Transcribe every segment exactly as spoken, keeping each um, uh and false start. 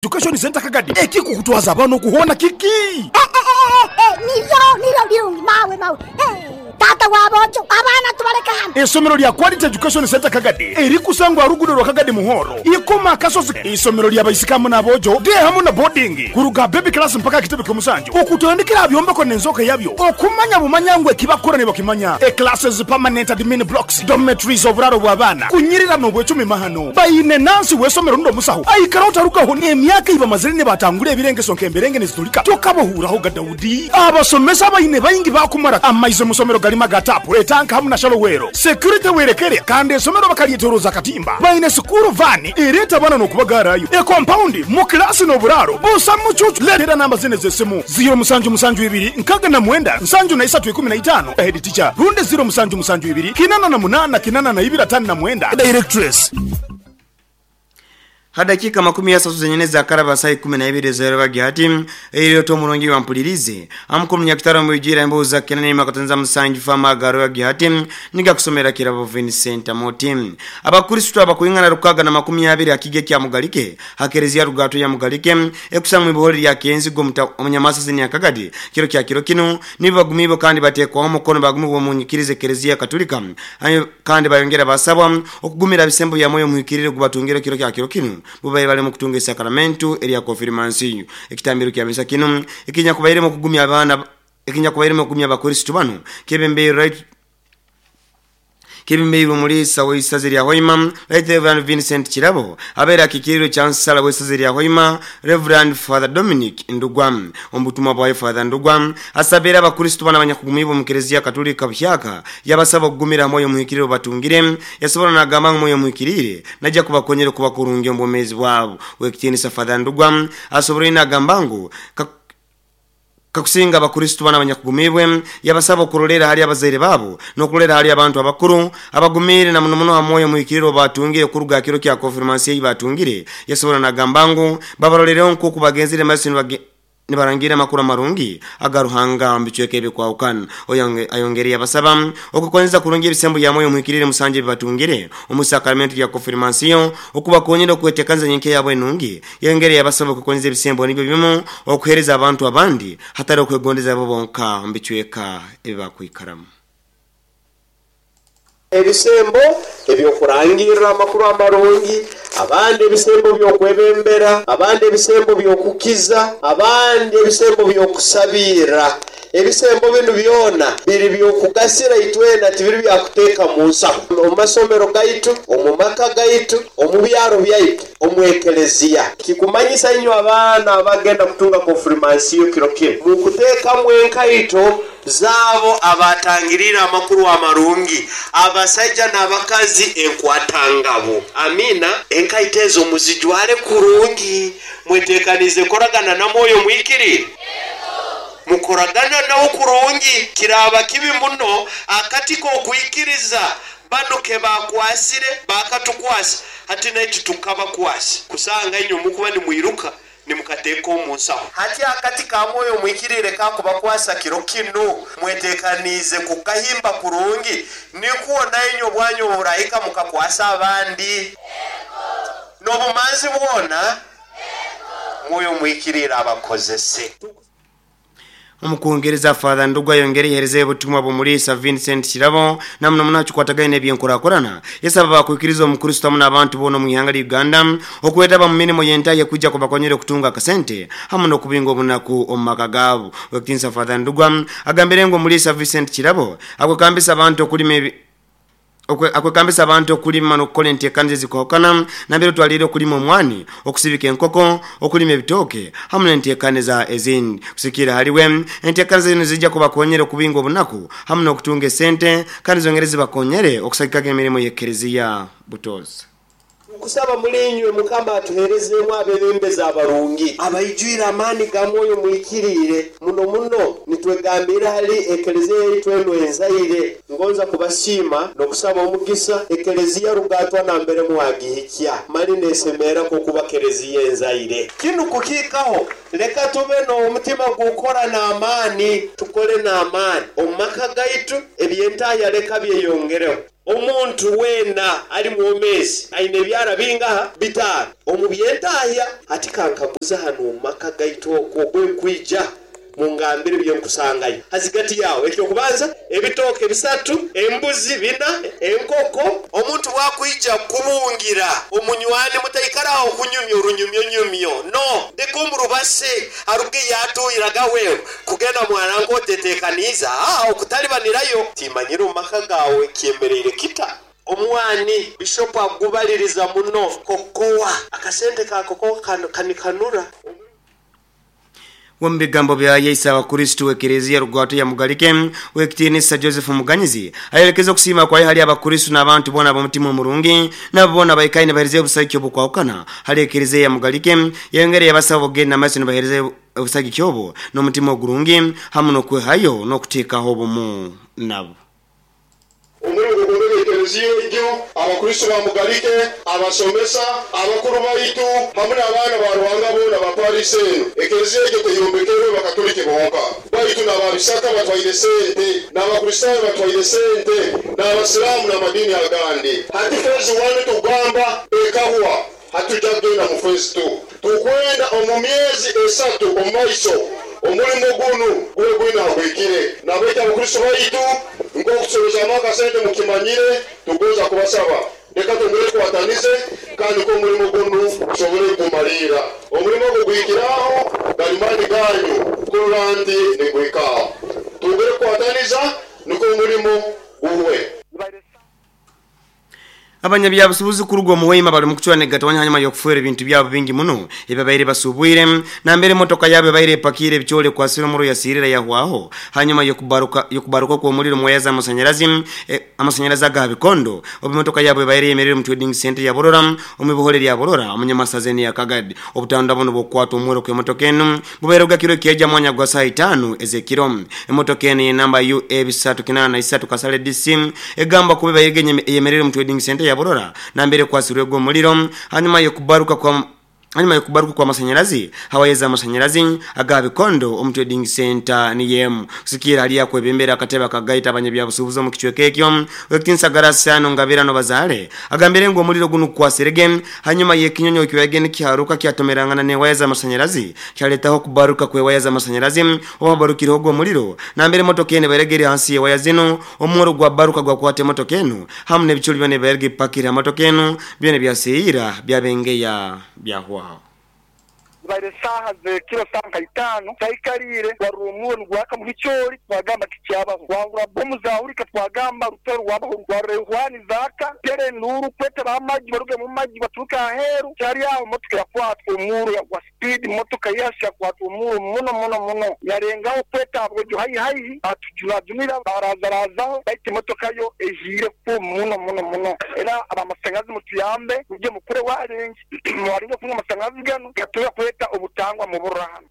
Education Center Kagadi ekikukutwaza abana okuhona kiki? Eh, eh, eh, niryo niryo birungi mawe mawe. Eh, tata wabojo abaana tubaleka hano. Esomero lya Quality Education Center Kagadi erikusangwa rugudo rwa Kagadi Muhoro ikoma kasozi. Isomero lya baisikamu n'abojo de hamu na boarding kuruga baby class mpaka kitebe ky'omusanju okutandikira byombeko n'enzoka yabyo okumanya bumanyangwe ekibakora ne bakimanya. E classes, permanent admin blocks, dormitories, oburaro bw'abaana kunyirira n'obwecumi mahano bayine nansi w'esomero ndo musaho aikara otarukaho n'emyaka ibamazire ne batangura ebirengeso nk'emberenge nezitulika tokabahuuraho ga Daudi. Abasomesa bayine bayingi bakumara amaize musomero galima gatapu etanka hamu na shalowero security werekere kandi esomero bakalyetoroza katimba bayine sukuru vani ereta bana n'okubagarayo e compound mu klasi n'oburaro busa mucucu. Letera namba zine z'essimu ziro musanju musanju ibiri nkaga na mwenda nsanju na isatu ikumi na itano head teacher runde ziro musanju musanju ibiri kinana na munana kinana na ibiri atano na mwenda directress. Hadakika makumi ya satu zenyene za karaba saa kumi na ibiri za yerwa hati iliyo to mulongi wa mpulirize amukuru nyakitaro mwijira embo za kenani makatanza musanju fama garo ya gihati niga kusomera kirabo Vincent Moti. Abakristo abakuingana rukaga na makumi ya abiri akige kya Mugalike hakerezia rugato ya Mugalike ekusamwe buhori ya kenzi go omunyamasa zini yakagadi kiro kya kiro kino nibagumibo kandi batekwa omukono bagumibo munyikirize kerezia Katolika kandi bayongera basabwa okugumira bisembo ya moyo muhikirire kubatungire kiro kya kiro kino bubaye bale mu kutunga sakramentu eri konfirmansiyo ekitambiro kya misa kino ekinya kubaire mu kugumya abana ekinya kubaire mu kugumya abakristo bano kebembe right kebembe mulisa w'isazi lya Hoima Right Reverend Vincent Kirabo abera kikiriro chansala w'isazi lya Hoima Reverend Father Dominic Ndugwa ombutumwa bwa Father Ndugwa asabera abakristo bana abanyakugumibo mu Kiliziya Katolika buhyaka yabasaba kugumira moyo muhikiriro batungire yasobora nagamba moyo muhikirire najya kubakonyera kubakurungi ombomezi bwabo wekitinisa Father Ndugwa asobora inagamba ngu kakusinga abakristo bana abanyakugumibwe yabasaba kurolera hali abazaire babo no kulolera hali abantu abakuru abagumire na muno muno hamoyo muhikiriro batungire kuruga kiro kya konfirmansiyo batungire yasobora nagamba ngu babarolere nko kubagenzire masino bage nibarangira makuru marungi agaruhanga mbichweke ebikwaukana oyange ayongeri yabasaba okukonza kurungi ebisembo ya moyo muhikirire musanje bibatungire omusakramento ya konfirmansiyo okubakonyera okwetekanza nyenke yabo enungi yongeri yabasaba okukonza ebisembo nibyo bimu okuhereza abantu abandi hatari okwegondeza abo bonka mbichweka ebibakwikaramu. Ebisembo ebyokurangirira amakuru amarungi, abandi ebisembo byokwebembera, abandi ebisembo byokukiza, abandi ebisembo byokusabira. Ebisembo binu byona biri byokugasira itwena tibiri byakuteeka mu nsaho omu masomero gaitu, omu maka gaitu, omu byaro byaitu, omu ekeleziya. Kikumanyisa inyo abaana abagenda kutunga konfirmansiyo kiro kino mukuteekamu enkaito zabo abatangirira amakuru amarungi, abasajja n'abakazi enkwatangabo. Amina. Enkaito ezo muzijwale kurungi, mwetekanize koragana na mwoyo mwikiri mukoragana nawo kurungi. Kiraba kibi muno akati kokwikiriza bano ke bakwasire bakatukwasa hati naitu tukabakwasa kusanga inyo mukuba nimwiruka nimukateeka omu nsaho. Hati akati ka mwoyo mwikirire kakubakwasa kiro kino mwetekanize kukahimba kurungi nikuwo nainyo bwanyu burahika mukakwasa abandi n'obumanzi bwona mwoyo mwikirire abakozese. Omukungereza Father Ndugwa yongere hereze obutumwa bumulisa Vincent Kirabo namno munachukwatagaine ebyenkurakurana yasaba bakwikiriza omukristo hamwe n'abantu bono mu ihanga lya Uganda okwetaba mu mirimo yentaye kujja kubakonyera okutunga akasente hamwe n'okubinga obunaku omu maka gaabo. Wekitinsa Father Ndugwa agambire ngu omulisa Vincent Kirabo akwekambisa abantu okulima ebi akwekambisa abantu okulima n'okukola enteekaniza ezikohokana nambere otwalire okulima omwani, okusibika enkoko, okulima ebitooke hamwe n'enteekaniza ezindi. Kusikira haliwe enteekaniza zino zijja kubakonyera okubinga obunaku hamwe n'okutunga esente kandi zongere zibakonyere okusagikaga emirimu y'ekereziya butozi. Kusaba mulinywe mukama atuherezemu abebembezi abarungi abaijwire amaani ga mwoyo mwikirire muno muno. Nitwegambira hali ekeleziya yaitu eno enzaire ngonza kubasiima n'okusaba omugisa ekeleziya rugatwa nambere muwagihikya mali nesemera kokuba keleziya enzaire. Kinu kukiikaho leka tube n'omutima gukora n'amaani, tukole n'amaani omu maka gaitu ebyentaya leka byeyongereho. Omuntu weena ali mwomezi aine ebyara bingaha bitaano omu byentahya ati kankaguza hano omu maka gaitu okwo gwenkwija mungambire byenkusangayo hazigati yawe ekyokubanza ebitooke bisatu embuzi bina enkoko. Omuntu bwakwija kubungira omunywani mutaikaraho kunyumya orunyumyo nyumyo no ndikumurubase aruge yatuyiraga wewe kugenda mwana nkotetekaniza ah okutalibanirayo timanyira omu maka gawe kyemereire kita. Omwani bishop agubaliriza muno kokowa akasente ka kokowa kanikanura. Wambigambo bya Yesu abakristo w'ekereziya rugwato ya Mugalike w'ekitinisa Joseph Muganyizi ayelekeza okusima kwa hali abakristo n'abantu bona ab'omutima omurungi nabo bona baikaine bahereze obusagiki obukwawukana hali ekereziya ya Mugalike yengere yabasaba ogenda amaiso nibahereze obusagiki obwo n'omutima ogurungi hamu n'okwehayo n'okuteekaho obumu nabo. Omurungu gumwe ekereziya egyo abakristo ba Mugalike abasomesa abakuru baitu hamwe n'abaana ba Ruhanga bona baparise eno ekereziya egyo teyombekerwe bakatolike bonka baitu n'ababisaka batwaire sente n'abakristaayo batwaire sente n'abasiraamu n'amadini agandi. Hati phase one tugamba ekahwa hatujja kugenda mu phase two tukwenda omu myezi esatu omu maiso omulimo gunu gwe gwina gwikire nabaita abakristo baitu nkokusobeza akasente mukimanyire tugoza kubasaba reka tongere tukwatanize kandi ko omulimo gunu tusobole kumalira omulimo ogwo gwikiraho galimani ganyu kurandi nigwikaho tongere kukwataniza niko omulimo guwe. Abanyabyabusubuzi kurugwa muwema bali mukuchwa negatwanya hanyuma yokufuera ebintu byabo bingi muno ebabaire basubwire na mbere motoka yabo baire epakire ebichole kwa siro muro yasirira yahwaho hanyuma yokubaruka yokubaruka kwa omuliro mwayaza amasanyalazi e, amasanyalazi aga bikondo obumotoka yabo baire yemerere mu trading center ya Borora omubuhole lya Borora omunyamasazeni ya Kagadi obutanda buno bokwata omwero kwa motoka enu bubaire gakiro kyeja mwanya gwa saa itano ezekiro emotoka enu ye namba U A bisatu kinana isatu kasale D C egamba kubeba yemerere mu trading center ya Borora na mbere kwasirwe omuliro hanyuma yokubaruka kwa hanyuma yokubaruka kwa masanyalazi hawayeza amasanyalazi aga bikondo omu trading center ni yemu kusikira hali yakwebembera akateba kagaita abanyabyabusubuzi mu kichweka ekyo wekitinsa garasano ngabirano bazale agambire ngo omuliro guno kwasirege hanyuma yekinyonyo kiwege nikiharuka kyatomerangana ne waya z'amasanyalazi kyaletaho kubaruka kwe waya z'amasanyalazi obabarukira ogwo omuliro na mbere motoka ene baregere hansi ye waya zino omworo gwa baruka gwa kwate motoka eno hamu n'ebichuli byone barege pakira motoka eno byone byasiyira byabengeya byahwa. Baire saha ze kilo sanka itano taikarire warumuwe ngwaka mu bichori twagamba kicyaba wangura bomu zaurika twagamba rutero wabaho rwarehwani zaka tere nuru kwete bamaji baruge mu maji baturuka aheru cyari yaho motoka yakwatwa umuru ya kwa speed motoka yasha kwatwa umuru muno muno muno yarengaho kweta abwo hayi hayi atujunajunira barazarazaho baite motoka yo ejire ku muno muno muno era abamasangazi mutuyambe uje mukure warengi mwaringa kunywa amasangazi gano gatuya kweta obutangwa mu burahano.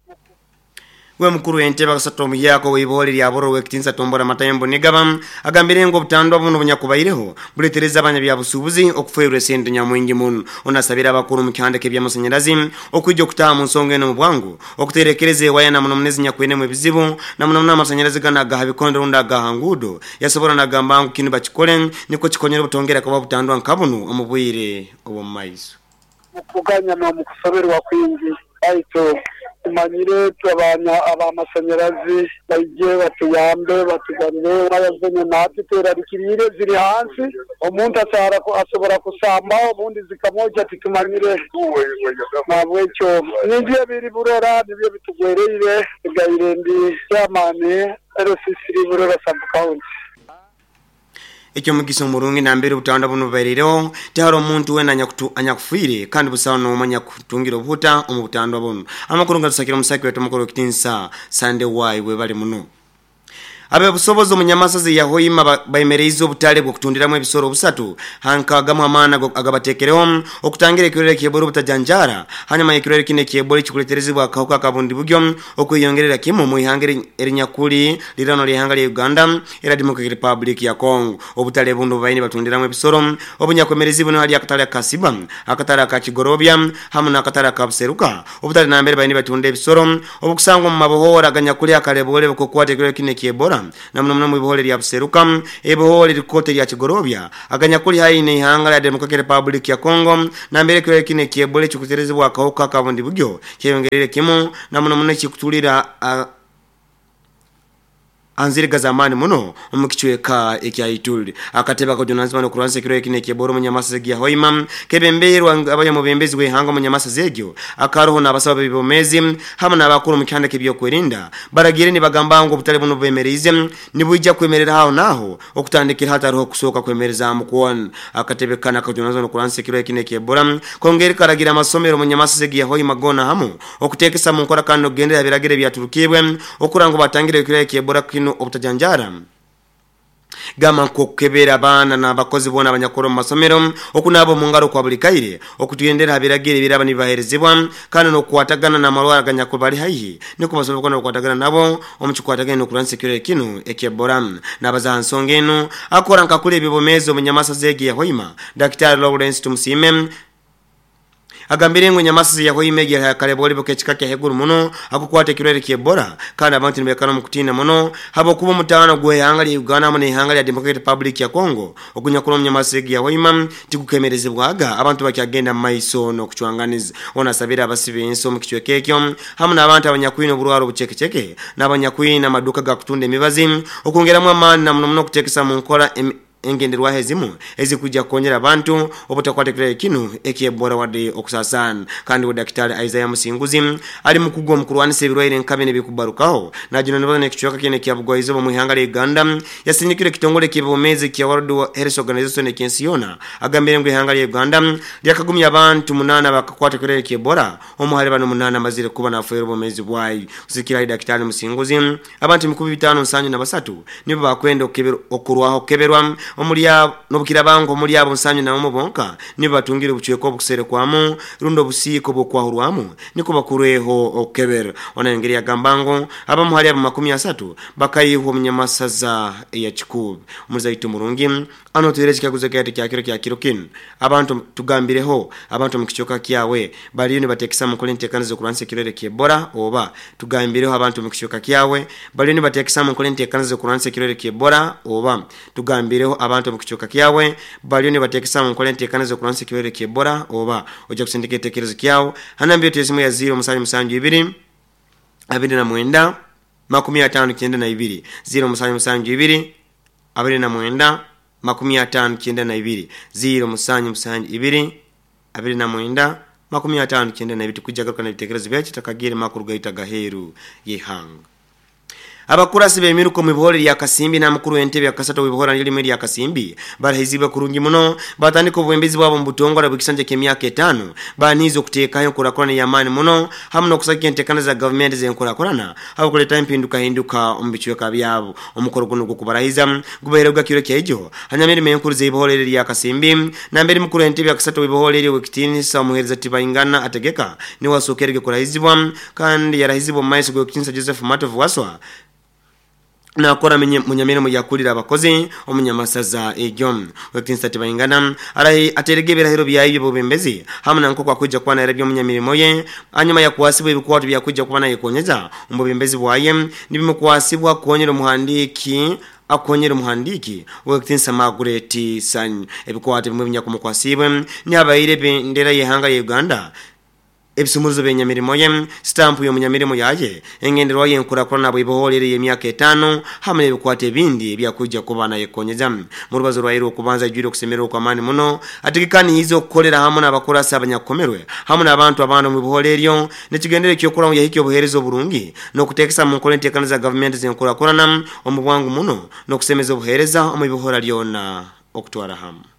We mukuru entebe akasatu omuyako weibole lya Bororo wekitinsa tombora matayembo nigaba agambire ngo obutandwa buno bunyakubaireho buletereza abanyabyabusubuzi okufuerwa sente nyamwingi muno onasabira abakuru mu kihandike eby'amasanyalazi okwijja okutaha mu nsonga eno mu bwangu okuterekereza ewaya na muno munezi nyakwenemu ebizibu na muno muno amasanyalazi gano agaha bikondo rundi agaha ngudo yasobora nagamba ngu kinu bakikole niko kikonyera obutongera kuba butandwa nka buno omu bwire obw'omu maiso. Mukuganya n'omukusoberwa kwingi aito tumanyire twabanya abamasanyalazi baije batuyambe batugarire waya natwe terarikirire ziri hansi omuntu asara asobora kusamba obundi zikamoja titumanyire nabwekyo nibyo biri Burora nibyo bitugwereire gaire ndi chairman R C C Burora sub county. Ekyo mugisa omurungi nambere obutanda buno bubairireho tihari omuntu wena anyakufiire kandi busaho n'omanya kutungira obuhuta omu butanda buno. Amakuru nga tusakira omusaki wetu omukuru w'ekitinsa Sunday Y webale muno. Abebusobozi omunyamasazi ya Hoima bayemereize obutale bw'okutundiramu ebisoro obusatu hankagamu amaana agabateekereho okutangira ekirwere ky'Ebola obutajanjara hanyuma ekirwere kino eky'Ebola ekikuleterezibwa akawuka akabundi bugyo okweyongerera kimu mu ihanga erinyakuli lirano ly'ihanga lya Uganda era Democratic Republic ya Congo. Obutale buno bubaine batundiramu ebisoro obunyakwemerezi buno hali akatale aka Siba, akatale aka Kigorobya hamu n'akatale aka Buseruka. Obutale nambere baine batunda ebisoro obukusangwa mu mabohora aganyakuli akalebole bukukwata ekirwere kino eky'Ebola Uganda na muno muno mu bihole lya Buseruka ebihole likote lya Kigorobya aganyakuli hayi ne ihanga lya Democratic Republic ya Congo na mbere kirwere kino ekya Ebola ekikuterezebwa akawuka akabundi bugyo kyeyongerere kimu na muno muno ekikutulira uh, anziriga zamani muno omukichweka ekya Ituri. Akateba kujunanizibwa n'okurwanisa ekirwere kino ekya Ebola omunyamasa ya Hoima kebembeirwa abanyamubembezi w'ihanga omunyamasa zegyo akaroho n'abasaba b'ebibomezi hamwe n'abakuru mu kihanda k'ebyokwerinda baragire nibagamba ngu obutale buno bwemereize nibwija kwemerera aho naho okutandikira hatariho kusooka kwemereza mukwona. Akatebe kana kajunanizibwa n'okurwanisa ekirwere kino ekya Ebola kongera karagira amasomero omunyamasa ya Hoima gona hamu okuteekesa mu nkora kandi n'okugendera ebiragiro ebyaturukibwe okura ngu batangire ekirwere kya Ebola kino obutajanjara gama nkokebera abaana n'abakozi bona abanyakora mu masomero okunaaba mu ngaro kwa buli kaire okutugendera habiragiro ebiraba nibaherezibwa kandi n'okukwatagana n'amarwara aganyakuri bari haihi niko basobola n'okukwatagana nabo omu kikwatagana n'okurwanisa ekirwere kino ekya Ebola. N'abaza ha nsonga enu akora nkakula ebibomeezi omunyamasa zegi ya Hoima Daktari Lawrence Tumusime agambire ngo nyamasa ya Hoima ya kaleboli bokechika kya heguru muno akukwata ekirwere kya Ebola kandi abantu nibekana mu kutina muno habo kuba mutano gwe ihanga lya Uganda mu ihanga lya Democratic Republic ya Congo okunyakura mu nyamasa ya Hoima tikukemerezebwaga abantu bakyagenda mu maiso no kucwanganiza. Onasabira abasibe enso mu kichweke ekyo hamwe n'abantu abanyakwina oburwaro obuchekecheke n'abanyakwina amaduka ga kutunda emibazi okongeramu amaani na muno muno kutekesa mu nkola engenderwaho ezimu ezikujja kukonyera abantu obutakwata ekirwere kino ekya Ebola wadde okusasana. Kandi we Daktari Isaiah Musinguzi ali mukugu omu kurwanisa ebirwaire nka bino ebikubarukaho najunanibwa n'ekicweka kino ekya Bugwaizoba mu ihanga lya Uganda yasindikire ekitongole ky'ebyobumeezi kya World Health Organization eky'ensi yoona agambire ngu ihanga lya Uganda lyakagumya abantu munaana bakakwata ekirwere kya Ebola omu hali bano munaana amazire kuba nafeera obumeezi bwayo. Kusikira Daktari Musinguzi abantu ebikumi bitaano nsanju na basatu nibo bakwenda okurwaho okukeberwa omulya nobukirabango omuli abo nsanyu na omu bonka nibo batungire obuchweka obukuserekwamu rundo obusiiko bwokwahurwamu niko bakurweho okukebera. Ona engeri yagambango abamu hali abo makumi asatu bakayihwa omunyamasaza ya Kikubi. Omuzaitu murungi ano tuhere ekikaguzo kyaitu kya kiro kya kiro kinu abantu tugambireho abantu mu kichweka kyawe baliyo nibateekesa mu nkola enteekaniza z'okurwanisa ekirwere kya Ebola oba tugambireho abantu mu kichweka kyawe baliyo nibateekesa mu nkola enteekaniza z'okurwanisa ekirwere kya Ebola oba tugambireho abantu mu kichweka kyawe baliyo nibateekesa mu nkola enteekaniza z'okurwanisa ekirwere kya Ebola oba ojja kusindika ekiteekerezo kyawe hanambire tuyesimu ya ziro musanju musanju ibiri abiri na mwenda makumi atano kyenda na ibiri ziro musanju musanju ibiri abiri na mwenda makumi atano kyenda na ibiri ziro musanju musanju ibiri abiri na mwenda makumi atano kyenda na ibiri. Tukujja garuka n'ebiteekerezo byaitu takagire makuru gaita gaheru y'ihanga. Abakurasi b'emiruko mu bihore lya Kasimbi na mukuru w'entebe ya Kasatu w'ibihora lirimo lya Kasimbi barahizibwe kurungi muno batandika obwembezi bwabo mu butongole bw'ekisanja ky'emyaka etaano baniize okuteekayo enkurakurana y'amaani muno hamwe n'okusagika enteekana za gavumenti z'enkurakurana abakuleeta empindukahinduka omu bicweka byabo. Omukoro guno gw'okubarahiza gubaherebwa kiro kyaijo hanyuma emirimo enkuru z'ibihore lya Kasimbi nambere mukuru w'entebe ya Kasatu w'ibihore w'ekitiinisa omuheereza Tibaingana Ategeka niwe asookerege kurahizibwa kandi yarahizibwa omu maiso g'ekitiinisa Joseph Matovu Waswa nakora munyamirimo yakulira abakozi omunyamasaza egyo. Wekitiinisa Tibaingana arahi aterege ebirahiro byayo by'obubembezi hamwe na nk'oku akwijja kuba naira by'omunyamirimo ye hanyuma yakwasibwa ebikwato byakwijja kuba nayekonyeza omu bubembezi bwaye nibimukwasibwa kukonyera omuhandiiki akonyera omuhandiiki wekitiinisa Margaret Sanyu. Ebikwato bimwe binyakumukwasibwe nihabaire ebendera y'ihanga ya Uganda ebisumuruzo b'enyamirimo ye sitampu y'omunyamirimo yaye engenderwa y'enkurakurana bw'iboholere y'emyaka etaano hamwe n'ebikwata ebindi ebyakwijja kuba nayekonyeza. Mu rubazo rwaire okubanza ijwire okusemererwa okw'amaani muno ategekaniize okukolera hamwe n'abakurasi abanyakukomerwe hamwe n'abantu abandi omu biholo eryo nekigendere eky'okuramu yahikya obuheereza oburungi n'okuteekesa mu nkola enteekana za gavumenti z'enkurakurana omu bwangu muno n'okusemeza obuheereza omu bihora lyona okutwara hamwe.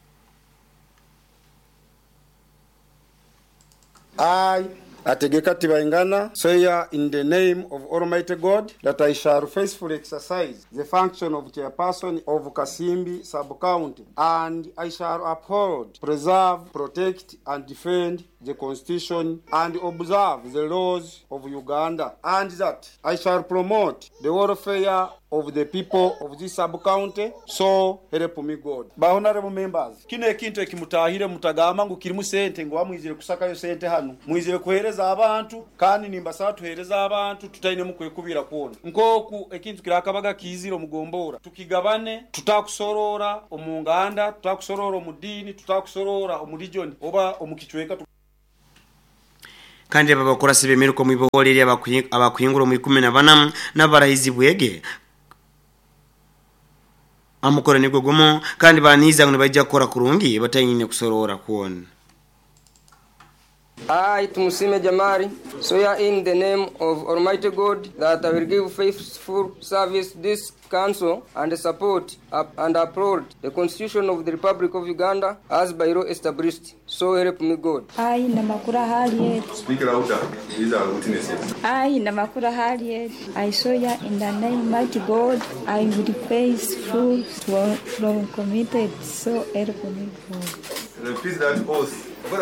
I, Ategeka Tibaingana, swear in the name of Almighty God that I shall faithfully exercise the function of chairperson of Kasimbi sub-county, and I shall uphold, preserve, protect, and defend the Constitution and observe the laws of Uganda, and that I shall promote the welfare of the people of this sub-county, so help me God. Ba honorable members, kino ekintu ekimutahire mutagamba ngu kirimu sente ngu amwizire kusakayo sente hano, mwizire kuhereza abantu, kandi nimbasaba tuhereza abantu tutaine mukwekubira kwona. Nkoku ekintu kirakabaga kizire omugombora, tukigabane, tutakusorora omunganda, tutakusorora omudini, tutakusorora omuregion oba omukichweka. Kandi abakorasi bemiruko mu ibohole abakuhingura mu ikumi na bana n'abarahizi bwege amukora nigwo gumo kandi baniza ngo bajya gukora kurungi batanyine kusorora kuona. I, Tumusime Jamari, swear in the name of Almighty God that I will give faithful service this council and support and uphold the Constitution of the Republic of Uganda as by law established. So help me God. I, Namakura Harriet. Speak louder. These are witnesses. I, Namakura Harriet. I swear in the name of Mighty God, I will faithful from committed. So help me God. Repeat that oath. I,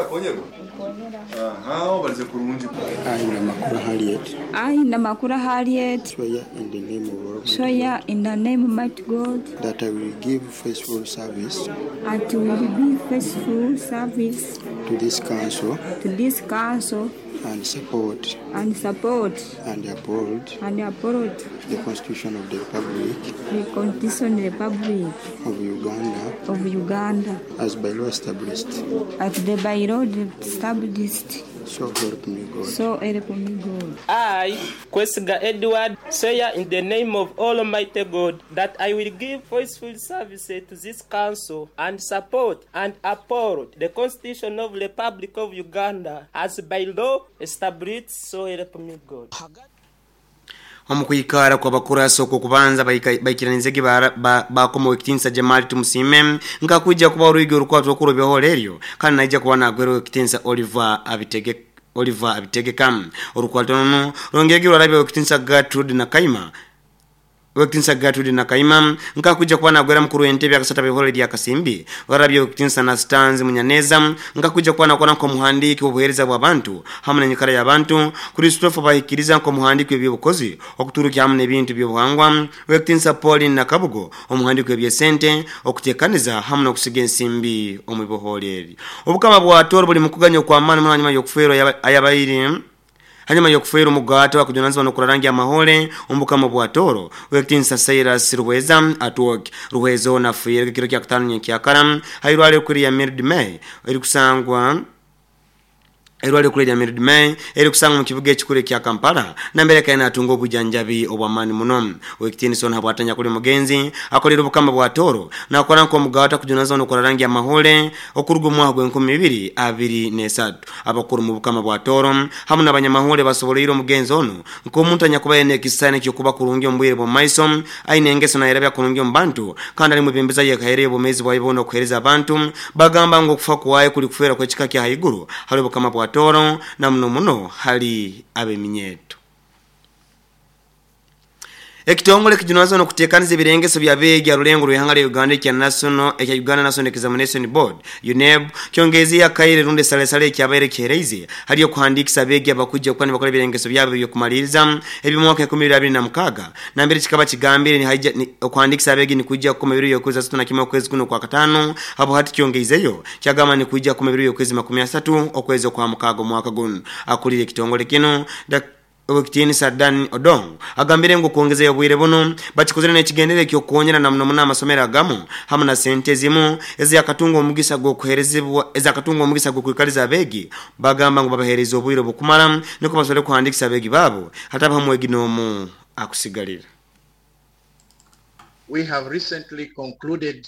Namakura Harriet. I, Namakura Harriet. Swear in the name of Almighty Swear in the name of Mighty God that I will give faithful service. That will be faithful service to this council. To this council. And support. And support. And uphold. And uphold. The Constitution of the Republic. The Constitution of the Republic of Uganda. Of Uganda. As by law established. As the by law established. So help me God. So help me God. I, Kwesiga Edward, swear in the name of Almighty God that I will give faithful service to this council and support and uphold the Constitution of the Republic of Uganda as by law established. So help me God. Omukwikara kwa bakurasa okwo kubanza baikiranizege bakoma ekitinsa Jamali Tumusime ngakuja kuba oruigi orukwato okuro byaholeryo kandi naija kuba nagwero ekitinsa Oliver Abitege Oliver Abitegeka orukwato no rongege rwarabye ekitinsa Gertrude Nakaima Wekitinsa Gertrude Nakaima ngakuja kuba nagwera mukuru w'entebe akasata bihole lya Kasimbi warabye ekitinsa na Stanzi Munyaneza ngakuja kuba nakora nko muhandiki obuhereza bw'abantu hamwe n'enyikara y'abantu Christopher bahikiriza nko muhandiki w'eby'obukozi okuturuka hamwe n'ebintu by'obuhangwa Wekitinsa Pauline Nakabugo omuhandiki w'ebyesente okutekaniza hamwe n'okusiga ensimbi omu bibohole obukama bwa Toro buli mukuganya kwa amani mwanyuma y'okufeerwa ayabayiri hanyuma yokufeera omugato akujunanizibwa n'okurarangi amahole ombukama bwa Toro Wekitinsa Cyrus Ruhweza atwok Ruhweza ona afiire kiro kya kutano nyenkyakara hairwale kuri ya Mirid May eri kusangwa Erwale kuri ya Mirid May eri kusangwa mu kibuga ekikuru kya Kampala nambere kaina atunga obujanjabi obwamani muno Wekitinsa ona bwatanya kuli mugenzi akolera obukama bwa Toro nakora nko omugato akujunanizibwa n'okurarangi amahole okuruga omwaka gw'enkumi ibiri abiri n'esatu abakuru mu bukama bwa Toro hamwe n'abanyamahole basoboleire omugenzi ono nk'omuntu anyakuba yene ekisani ky'okuba kurungi omubwire bw'omumaiso aine engeso nayerabya kurungi omu bantu kandi ali mubembeza yekahereye obumezi bwaye bwona okuhereza abantu bagamba ngu okufa kwaye kuli kufeera kw'ekika kya haiguru hali obukama bwa Toro na muno muno hali abeminyeto. Ekitongole kijunazwa n'okuteekaniza ebirengeso bya beegi arulengo rw'ihanga lya Uganda ekya National ekya Uganda National Examination Board U N E B kyongezi akaire runde salesale ekyabaire kihereize hali okuhandikisa abeegi abakujja okuba nibakora ebirengeso byabo eby'okumaliriza eby'omwaka enkumi ibiri abiri na mukaaga nambere kikaba kigambire ni okuhandikisa abeegi nikujja kukoma ebiro by'okwezi asatu na kimwe okwezi kuno kwa kataano abo hati kyongeizeyo kyagamba nikujja kukoma ebiro by'okwezi makumi asatu okwezi okwa mukaaga omwaka guno. Akulira ekitongole kino Wekitinsa Dan Odong agambire ngu kuongeza obwire buno bakikozere n'ekigendere ky'okuwonyera na muno muno amasomero agamu hamwe na sente zimu ezakatunga omugisa gw'okuherezibwa ezakatunga omugisa gw'okwikaliza abeegi bagamba ngu babahereza obwire obukumara niko basobole kuhandikisa abeegi baabo hataba hamwegi n'omu akusigalira. We have recently concluded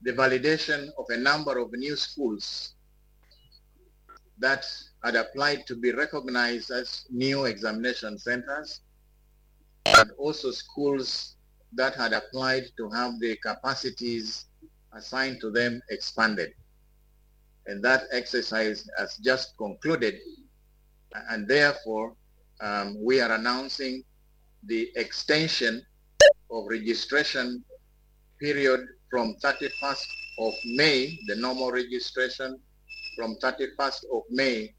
the validation of a number of new schools that had applied to be recognized as new examination centers, and also schools that had applied to have the capacities assigned to them expanded. And that exercise has just concluded, and therefore um, we are announcing the extension of registration period from thirty-first of May, the normal registration, from thirty-first of May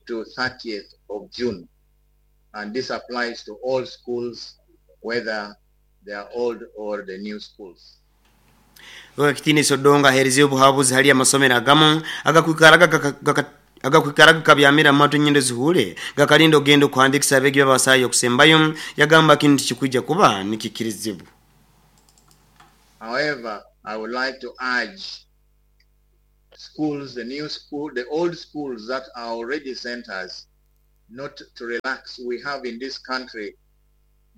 to thirtieth of June. And this applies to all schools, whether they are old or the new schools. Wakitini sodonga herizi obuhabuzi hali amasomero agamu agakwikaraga agakwikaraga kabyamira matu nyendo zihule gakalinda ogenda okuhandikisa abegi babasayo okusembayo yagamba kintu kikwijja kuba nikikirizibwa. However, I would like to urge schools, the new school, the old schools that are already centers, not to relax. We have in this country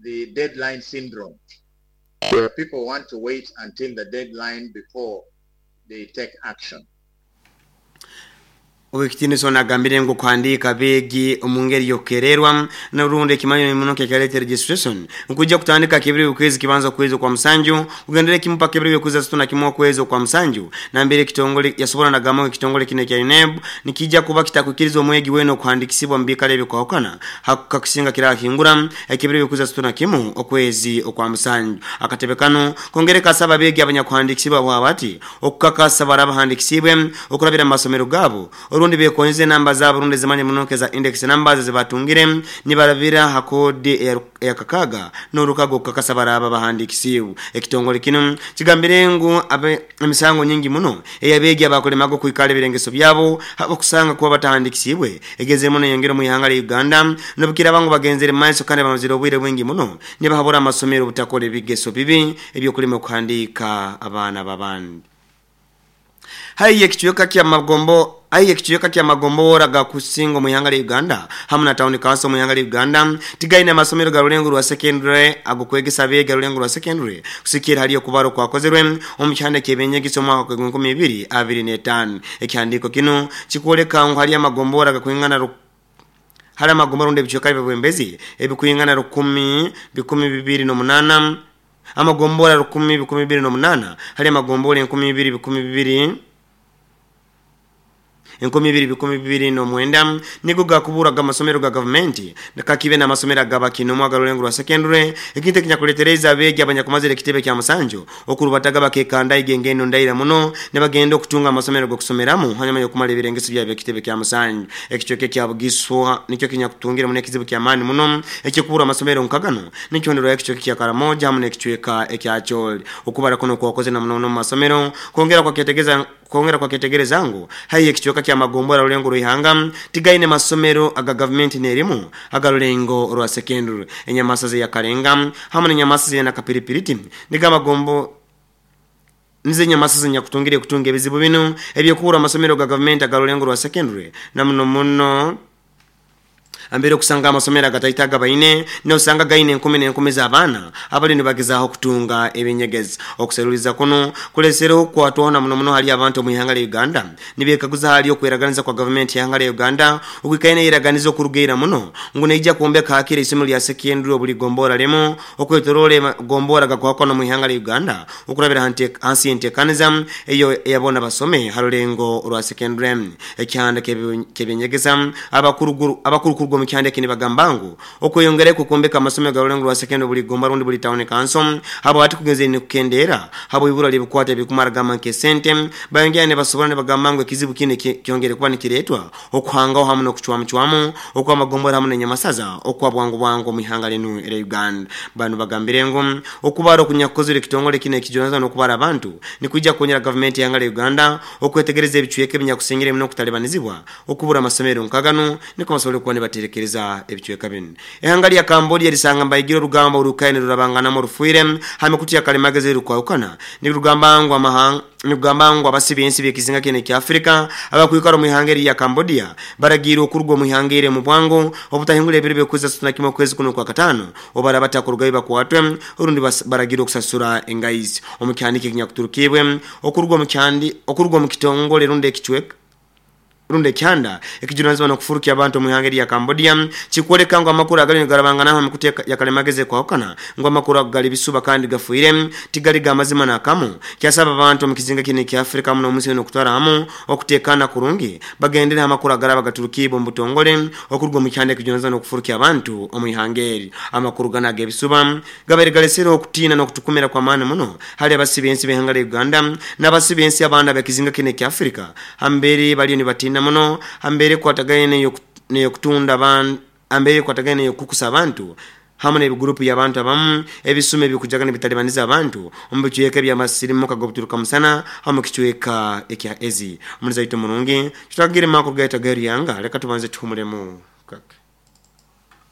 the deadline syndrome, where people want to wait until the deadline before they take action. Owekitini sona agambire ngo kuhandika begi omungeri yokererwa n'orundi ekimanyo muno kekaleta registration nkujja kutandika kibiri ukwezi kibanza kwezi kwa musanju ugendere kimupa kibiri ukwezi situna kimwa kwezi kwa musanju na mbere kitongole yasobora nagamo kitongole kine kya U N E B nikijja kuba kitakukirizwa omwegi weno kuhandikisibwa mbikale bikawakana hakukakusinga kira hingura ekibiri ukwezi situna kimu okwezi okwa musanju akatebekano kongereka saba begi abanyakuhandikisibwa bwabati okukakasa barabahandikisibwe okurabira masomero gabo orundi bekonze namba za Burundi zimanye munoke za index numbers zibatungire nibarabira hakodi ya kakaga n'urukago kakasa baraba bahandikisiwe ekitongole kino kigambire ngu emisango nyingi muno eyabegi abakolemago kuikale birengeso byabo habo kusanga kuba batahandikisiwe egeze muno yongera mu ihanga la Uganda nobukira bangu bagenzere maiso kandi bamazira obwire bwingi muno nibahabura amasomero butakole bigeso bibi ebyokulima kuhandika abana babandi. Haiye kichuyoka kya magombo Aiye kichuyoka kya magombora ga kusingo mu ihanga la Uganda hamwe na town council mu ihanga la Uganda tigaina masomero ga rulengo rwa secondary agokwegesa bega rulengo rwa secondary kusikira haliyo kubaro kwakozerwe omukyanda kebenyegiso mwaka gwa nkumi ibiri abiri n'etaano ekyandiko kino kikwoleka ngu hali amagombora ga kwingana hali amagombora nde bichuyoka bibwembezi ebikwingana rukumi bikumi bibiri n'omunana amagombora rukumi bikumi bibiri n'omunana hali amagombora enkumi bibiri bikumi bibiri enkumi bibiri bikumi bibiri n'omwenda nigo gakuburaga amasomero ga gavumenti nakakibe n'amasomero agabakino mwaga rulengo rwa secondary ekintu ekinyakuletereza abegi abanyakumazira ekitebe kya musanju okurubataga bakekanda igengeno ndaira muno ne bagenda okutunga amasomero g'okusomeramu hanyuma y'okumala ebirengeso byabyo ekitebe kya musanju ekichweke kya Bugiswa nikyo kinyakutungira muno ekizibu kya maani muno ekikubura amasomero nkagano nikyondero ekichweke kya Karamoja hamwe n'ekichweka ekya Acholi okubara kuno kwakoze na muno mu masomero kongera kwa ketegeza kongera kwa ketegereza ngu hayi ekichweka kya magombora rulengo ruihanga tigaine masomero aga government nerimu aga rulengo rwa secondary enyamasaze ya Karenga hamwe n'enyamasaze na Kapiripiriti niga magombo nize nyamasaze nyakutungire kutunga ebizibu bino ebyokura amasomero ga government aga rulengo rwa secondary na muno muno ambere kusanga amasomero agataitaga baine n'osanga gaine enkumi n'enkumi z'abaana abali nibagezaho kutunga ebinyegezi okuseruliza kuno kulesereho kwatwana muno muno hali abantu mu ihanga la Uganda nibekaguza hali okweraganiza kwa government ya ihanga la Uganda okwikaine iraganiza okurugeira muno ngu neija kuombeka hakiri isomero lya secondary obuli gombora lemo okwetorole gombora gakwakona mu ihanga la Uganda okurabira hansi entekaniza eyo eyabona basome harulengo rwa secondary ekyanda kebinyegeza abakuruguru abakurukuru mu kyande kini bagambangu okweyongereko kuombeka amasomero ga rulengo rwa secondary buli gomba rundi buli town council habo ati kugenze ni kukendera habo ibura libukwata bikumara gama nke sente bayongera ne basobora ne bagambangu ekizibu kine kyongere kuba nikiretwa okuhangaho hamwe no kuchwamu okwa magombora hamwe n'enyamasaza okwa bwangu bwangu mu ihanga lenu era Uganda bano bagambire ngo okubara okunyakozere kitongole kine kijonaza no kubara abantu nikujja konyera government ya ihanga la Uganda okwetegereza ebichweke binyakusingire muno kutalebanizibwa okubura amasomero nkagano niko basobole kuba ne tekereza ebichweka bino ehanga lya Cambodia lisanga mbayigiro rugamba urukaine rurabangana mu rufuire hame kutiya kalemageze rukwawukana ni rugamba ngo amahanga ni rugamba ngo abasibensi bekizinga kene kya Afrika abakwikara mu ihanga lya Cambodia baragira okurugwa mu ihanga ire mu bwango obutahingula ebiro byokuza situna kimwe kwezi kuno kwa katano obara batakurugayo bakwatwe urundi baragira okusasura engayizi omukyandike kinyakuturukibwe okurugwa mu kyandi okurugwa mu kitongole runde ekichweka runde kyanda ekijunanizibwa n'okufurukia abantu mu ihanga lya Cambodia kikwoleka ngo amakuru agali garabangana hamwe kuteka yakalemageze kwawukana ngo amakuru agali bisuba kandi gafuire tigali gamazima nakamu kyasaba abantu mu kizinga kine kya Afrika muno munsi no kutwara hamu okutekana kurungi bagendera amakuru agaraba gaturukibo mbutongole okurwa mu kyanda ekijunanizibwa n'okufurukia abantu mu ihanga eri amakuru ganaga ebisuba gabere galesero okutina n'okutukumira kwa maana muno hali abasibensi b'ihanga lya Uganda n'abasibensi abanda bekizinga kine kya Afrika hambere baliyo nibatina natiina muno ambere kwatagaine neyokutunda abantu ambere kwatagaine yokukusa abantu hamwe n'ebigurupu y'abantu abamu ebisume ebikujaga n'ebitalibaniza abantu omu bicweka by'amasirimu kagobuturuka musana hamwe kicweka ekya ezi omuliza itu murungi tutagire makuru gaita garyanga reka tubanze tuhumulemu kake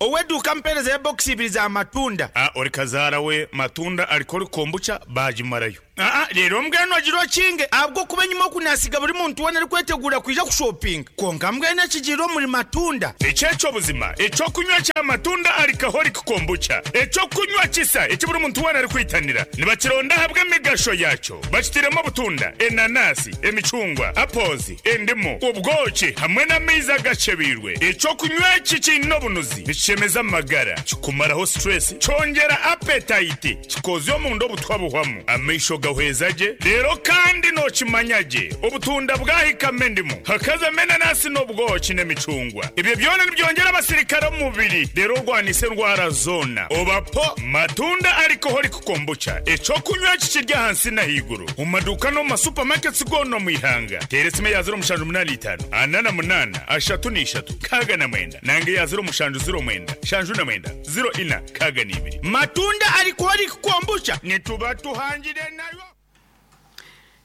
oweduka mpereza ya box ibiri za matunda ah ori kazara we matunda alikori kombucha bajimarayo ah rero mbweno agiro kinge abwo kuba nyuma kunasiga buri muntu wona ari kwetegura kuja kushopping konka mbwene kigiro muri matunda echecho buzima echo kunywa cha matunda alcoholic kombucha echo kunywa kisa eki buri muntu wona ari kwitanira nibakironda habwe migasho yacho bakitiremo butunda enanasi emicungwa apples endimu ubwoki hamwe n'amaizi agacebirwe echo kunywa iki kino bunuzi chemeza magara kikumaraho stress chongera appetite kikozyo mundo butwabuhwamu amesho gahwezaje rero kandi no kimanyaje obutunda bwahika mendimu hakaza menanasi n'obwoki n'emicungwa ibyo byona nibyongera abasirikare mu mubiri rero rwanise ndwara zona obapo matunda alcoholic kombucha echo kunywa kikirya hansi na higuru mu maduka no ma supermarkets gono mu ihanga teresime ya zero mushanju munani itanu anana munana ashatu n'ishatu kaga na mwenda nange ya zero mushanju zero mwenda shanju na mwenda zero ina kaga n'ibiri matunda alcoholic kombucha nituba tuhangire nayo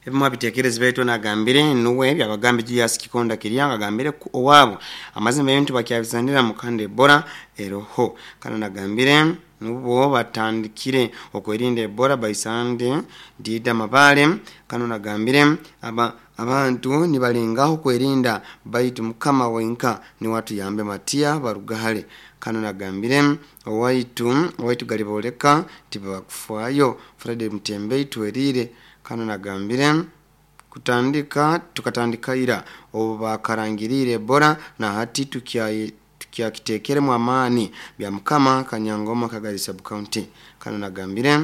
ebimwe bitekereza betu nagambire nuwe byabagambe Julius Kikonda Kiryanga gambire owabo amazima y'intu bakyabizanira mukande Ebola eroho kana nagambire nubo batandikire okwerinda Ebola baisande dida mabale kano nagambire aba abantu nibalengaho kwerinda baitu mukama wenka ni watu yambe matia barugahale kano nagambire owaitu owaitu galiboleka tibakufayo Fred Mtembe itwerire kano nagambire kutandika tukatandika ira obakarangirire Ebola na hati tukia tukiakitekere mu amani bya mukama kanyangoma Kagari sub county kano nagambire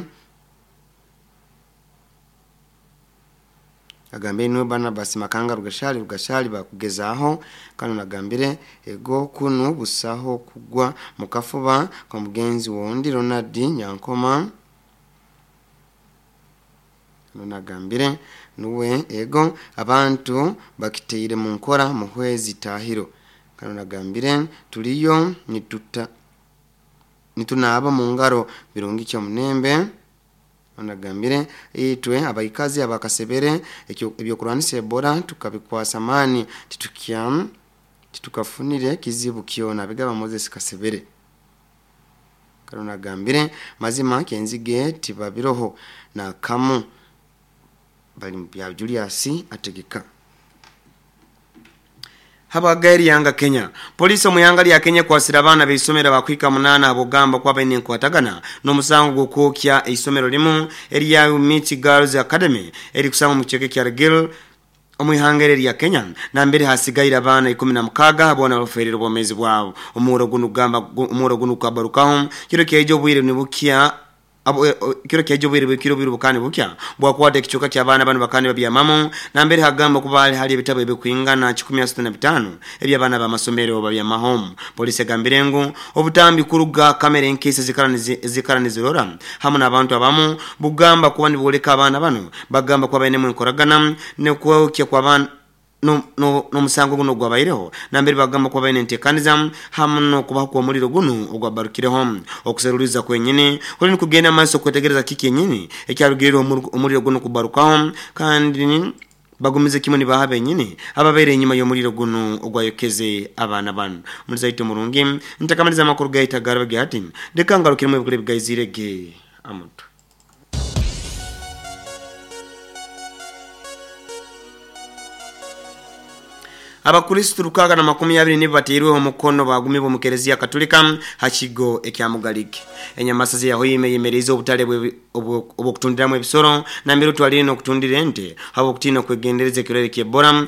agambire no Barnabas Makanga rugashali rugashali bakugezaho kano nagambire ego kunu busaho kugwa mukafuba kwa mugenzi wondi Ronald Nyankoma nagambire nuwe ego abantu bakiteire mu nkora muhwezi tahiro kano nagambire tuliyo nituta nitunaba mu ngaro birungi cyo munembe nagambire itwe abaikazi abakasebere ebyo kurwanisa Ebola tukabikwasa mani titukia titukafunire kizibu kiona bigaba Moses Kasebere kano nagambire mazima kenzige tibabiroho na kamu bali bya Julius ategeka Habagari yanga Kenya polisi omuyanga lya Kenya kwasira abana beisomera bakwika munana abogamba kwa bene nkwatagana n'omusango gw'okwokya eisomero limu erya Miti Girls Academy eri kusanga mu kicheke kya Gil omwihangere lya Kenya na mbere hasigaira abana ikumi na mukaga abona baferera obwomezi bwabo omuro guno gamba omuro guno kabarukaho kiro kejo bwire nibukia abo kiro kejo bwire bwikiro bwire bukane bukya bwakwata ekichoka kya abana bano bakane babya mamo na mbere hagamba kubali hali ebitabo ebikwingana kikumi na sita na bitano eby'abana b'amasomero babya mahome polisi gambire ngu obutambi kuruga kamera enkese zikaranize zikaranizirora hamwe n'abantu abamu bugamba kuba niboleka abana bano bagamba kuba baine mwenkoragana ne kwokya kwa abana no no no musango guno gwabaireho nambere bagamba kwa baine ntekaniza hamwe no kubaho kwa muliro guno ogwabarukireho okuseruliza kwenyine kuli nikugenda amaso kwetegereza kiki yenyine ekyarugirira omuliro guno kubarukaho kandi bagumize kimwe ni baha benyine ababere inyuma y'omuliro guno ogwayokeze abana bano mulizaito murungi ntakamaliza amakuru gaita garabage hati dekangarukiremo ebikule bigayizirege amuntu Abakristo rukaga na makumi abiri nibo bateirweho omukono bagumibwa mu Kelezia Katolika hakigo ekya Mugalike. Enyamasazi yaho yimeyimeriza obutale obwokutundiramu ebisoro na mbere twalire n'okutundira ente habo okutina kwegendereza ekirwere ky'Ebola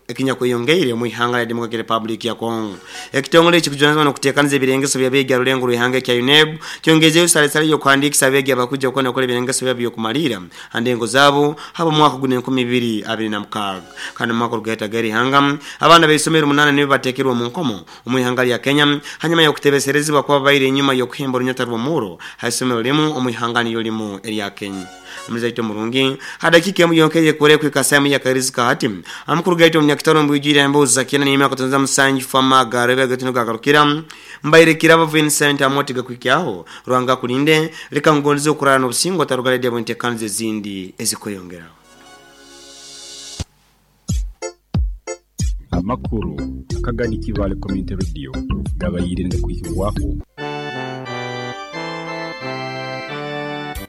ekinya kweyongeire mu ihanga lya Democratic Republic ya Congo. Ekitongole ekikujunaanizibwa n'okuteekaniza ebirengeso by'abeegi alulengo lw'ihanga ekya U N E B kyongezeyo salesale y'okuhandiikisa abeegi abakuja okukona okukola ebirengeso byabo by'okumalira andengo zaabo habo mwaka guno enkumi ibiri abiri na mukaaga. Kandi mu mwaka ogugaita ihanga abana b'eisomero munana nibo bateekerwa mu nkomo omu ihanga lya Kenya hanyuma y'okutebeserezibwa kuba babaire enyuma y'okuhemba orunyata rw'omuuro ha isomero limu omu ihanga niyo limu erya Kenya. Omuzaito murungi hadakika emu yonkeye kore kwikasa mu yakarizika hati amukuru gaito munyakitaro mbwijira embuza kina ni myaka tonza musanju fama garebe gatino gagarukira mbaire kiraba Vincent Amoti gakwikyaho Rwanga kulinde leka ngonze okurana obusingo tarugale bwente kanze zindi ezikoyongeraho. Amakuru Kagadi Kivale Community Radio gabayire ndakwikirwako.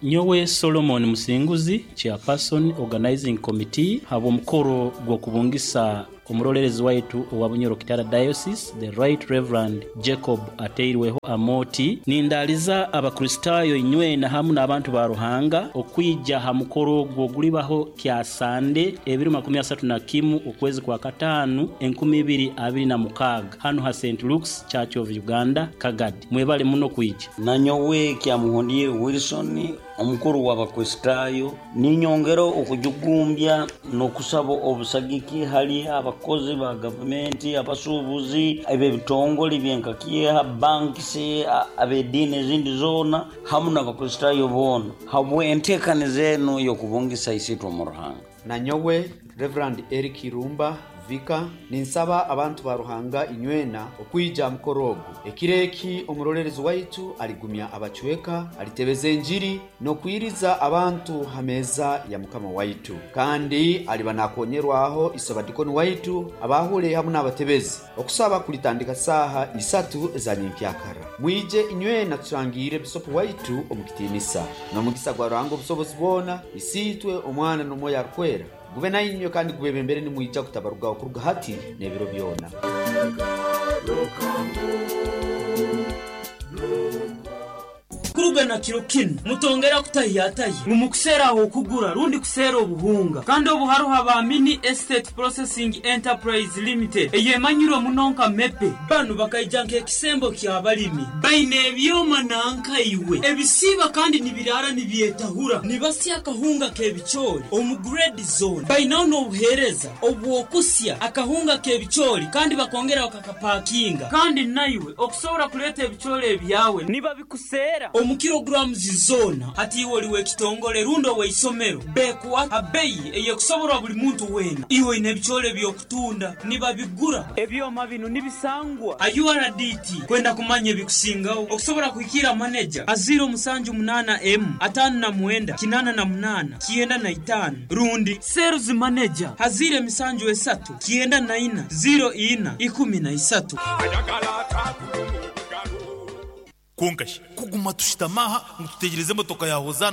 Nyowe Solomon Musinguzi, chairperson organizing committee, habo mukoro gw'okubungisa omurolerezi waitu owa Bunyoro Kitara Diocese, the Right Reverend Jacob Ateirweho Amoti, nindaliza abakristayo inywena hamu n'abantu ba Ruhanga okwija ha mukoro gw'ogulibaho kya Sande ebiro makumi asatu na kimu okwezi kwa katanu enkumi ibiri abiri na mukaga hano ha Saint Luke's Church of Uganda Kagadi. Mwebale muno kwija. Nanyowe kya Muhondie Wilson omukuru w'abakristayo ninyongero okujugumbya n'okusaba obusagiki hali abakozi ba gavumenti, abasuubuzi, eb'ebitongole byenkakieha, bankisi, ab'ediini ezindi zoona hamu n'abakristayo boona habwe enteekaniza enu y'okubungisa isitwe mu Ruhanga. Nanyowe Reverend Eric Irumba Vika ninsaba abantu ba Ruhanga inywena okwija mukorogo ekireki omurolerezi waitu aligumya abachweka alitebeza enjiri nokwiriza abantu hameza ya mukama waitu kandi aliba nakonyerwaho isobadikoni waitu abahule hamu n'abatebezi okusaba kulitandika saha isatu za nyenkyakara. Mwije inywena tushangire bisopo waitu omukitinisa n'omugisa gwa Ruhanga obusobozi bwona isitwe omwana n'omwoyo arukwera gube nainywe kandi gubebembere nimwija kutabaruga okuruga hati n'ebiro byona. Kuruga na kiro kinu mutongera kutahiyataye mumukuseraho okugura rundi kusera obuhunga kandi obuharuha ba Mini Estate Processing Enterprise Limited eyemanyirwe munonka mepe banu bakaija nk'ekisembo ky'abalimi baine ebyoma nankaiwe ebisiba kandi nibirara nibyetahura nibasya akahunga k'ebicoori omu grade zone bainaho n'obuheereza obwokusya akahunga k'ebicoori kandi bakongera bakakapakinga kandi naiwe okusobora kuleeta ebicoori ebyawe nibabikusera omu kilograms zona hati iwe oliwe ekitongole rundo weisomero bekuwa abeyi eyekusoborwa buli muntu wena iwe ine ebicoori byokutunda nibabigura ebyoma bino nibisangwa a U R D T kwenda kumanya ebikusingaho okusobora kuhikira manager aziro musanju munana m atano na mwenda kinana na munana kienda na itano rundi sales manager hazire misanju esatu kienda na ina zero ina ikumi na isatu. Konkashi kuguma tushitamaha mututegereze motoka yahoza.